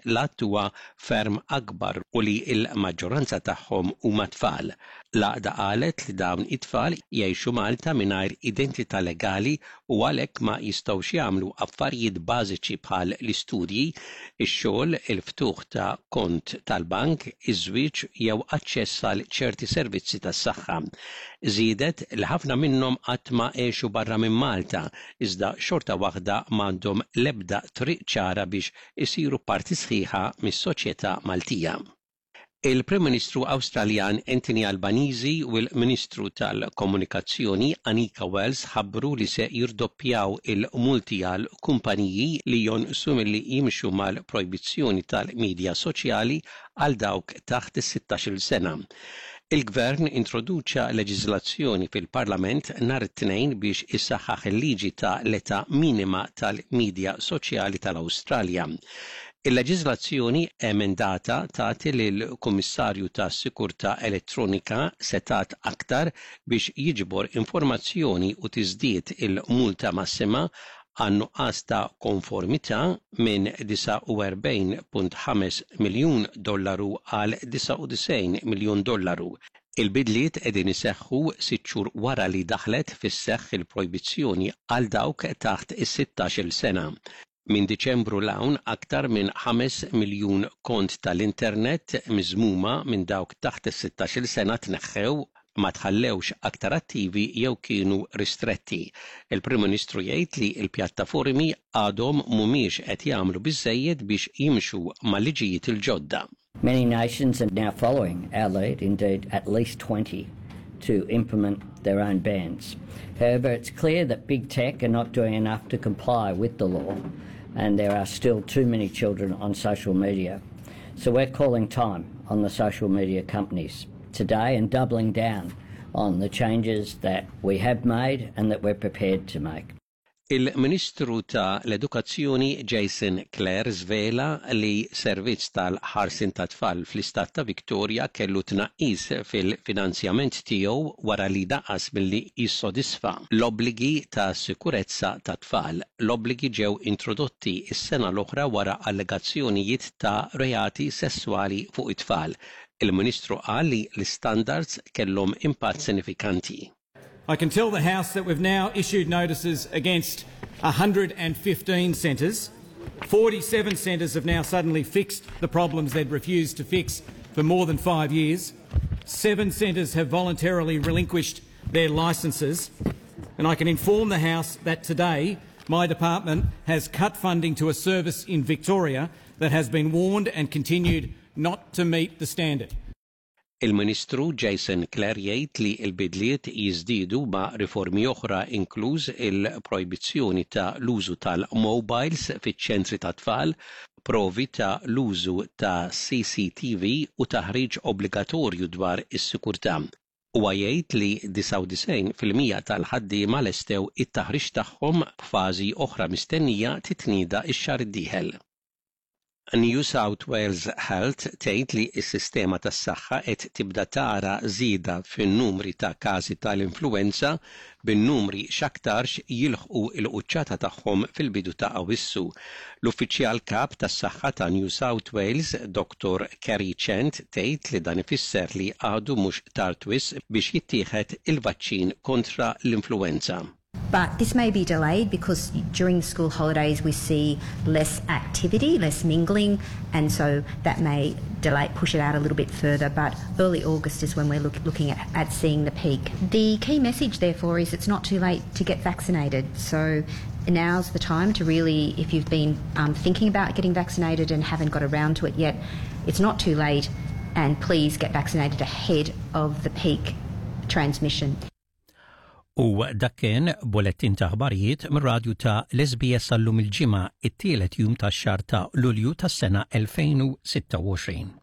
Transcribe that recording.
l-għadd huwa ferm akbar u li l-maġġoranza tagħhom huma tfal. L-għaqda qalet li dawn it-tfal jgħixu Malta mingħajr identità legali u għalhekk ma jistgħux jagħmlu affarijiet bażiċi bħal l-istudji, ix-xogħol, il-ftuħ ta' kont tal-bank, iż-żwieġ jew aċċess għal ċerti servizzi tas-saħħa. Żiedet li ħafna minnhom qatt ma għexu barra minn Malta, iżda xorta waħda m'għandhom l-ebda triq ċara biex isiru parti sħiħa mis-soċjetà Maltija. Il-Prim Ministru Awstraljan Anthony Albanese u l-Ministru tal-Komunikazzjoni Anika Wells ħabbru li se jirdoppjaw il-multi għal kumpaniji li jonqsu milli jimxu mal-projbizzjoni tal-midja soċjali għal dawk taħt is-16-il sena. Il-Gvern introduċa leġiżlazzjoni fil-Parlament nhar it-Tnejn biex isaħħaħ il-liġi ta' l-età minima tal-midja soċjali tal-Awstralja. Il-leġiżlazzjoni emendata tagħti lill-Kummissarju tas-Sikurtà Elettronika setgħat aktar biex jiġbor informazzjoni u tiżdied il-multa massima għan-nuqqas ta' konformità minn 49.5 miljun dollaru għal 99 miljun dollaru. Il-bidliet qegħdin iseħħu sitt xhur wara li daħlet fis-seħħ il-projbizzjoni għal dawk taħt is-sittax-il sena. Minn Diċembru 'l hawn, aktar minn 5 miljun kont tal-internet miżmuma minn dawk taħt is-sittax-il sena tneħħew, ma tħallewx aktar attivi jew kienu ristretti. Il-Prim Ministru jgħid li l-pjattaformi għadhom mhumiex qed jagħmlu biżżejjed biex jimxu mal-liġijiet il-ġodda. Many nations are now following our lead, indeed at least 20, to implement their own bans. However, it's clear that big tech are not doing enough to comply with the law, and there are still too many children on social media. So we're calling time on the social media companies today and doubling down on the changes that we have made and that we're prepared to make. Il-Ministru ta' l-Edukazzjoni Jason Clare żvela li servizz tal-ħarsien tat-tfal fl-istat ta' Victoria kellu tnaqqis fil-finanzjament tiegħu wara li naqas milli jissodisfa l-obbligi ta' sikurezza tat-tfal. L-obbligi ġew introdotti s-sena l-oħra wara allegazzjonijiet ta' reati sesswali fuq it-tfal. Il-Ministru qal li l-istandards kellhom impatt sinifikanti. I can tell the House that we've now issued notices against 115 centres. 47 centres have now suddenly fixed the problems they'd refused to fix for more than five years. Seven centres have voluntarily relinquished their licences. And I can inform the House that today my department has cut funding to a service in Victoria that has been warned and continued not to meet the standard. Il-Ministru Jason Clare jgħid li l-bidliet jiżdiedu ma' riformi oħra inkluż il-projbizzjoni ta' l-użu tal-mobiles fiċ-ċentri tat-tfal, provi ta' l-użu ta' CCTV u taħriġ obbligatorju dwar is-sikurtà. Huwa jgħid li 99% tal-ħaddiema lestew it-taħriġ tagħhom b'fażi oħra mistennija titnieda x-xahar id-dieħel. New South Wales Health tgħid li s-sistema tas-saħħa qed tibda tara żieda fin-numri ta' każi tal-influwenza, bin-numri x'aktarx jilħqu l-quċċata tagħhom fil-bidu ta' Awwissu. L-Uffiċjal Kap tas-Saħħa ta' New South Wales, Dottor Kerry Chant tgħid li dan ifisser li għadu mhux tard wisq biex jittieħed il-vaċċin kontra l-influwenza. But this may be delayed because during the school holidays we see less activity, less mingling, and so that may delay, push it out a little bit further. But early August is when we're look, looking at, at seeing the peak. The key message, therefore, is it's not too late to get vaccinated. So now's the time to really, if you've been um, thinking about getting vaccinated and haven't got around to it yet, it's not too late. And please get vaccinated ahead of the peak transmission. U dak kien bulettin ta' aħbarijiet mir-radju ta' l-SBS għallum il-Ġimgħa, it-tielet jum tax-xahar ta' Lulju tas-sena 2026.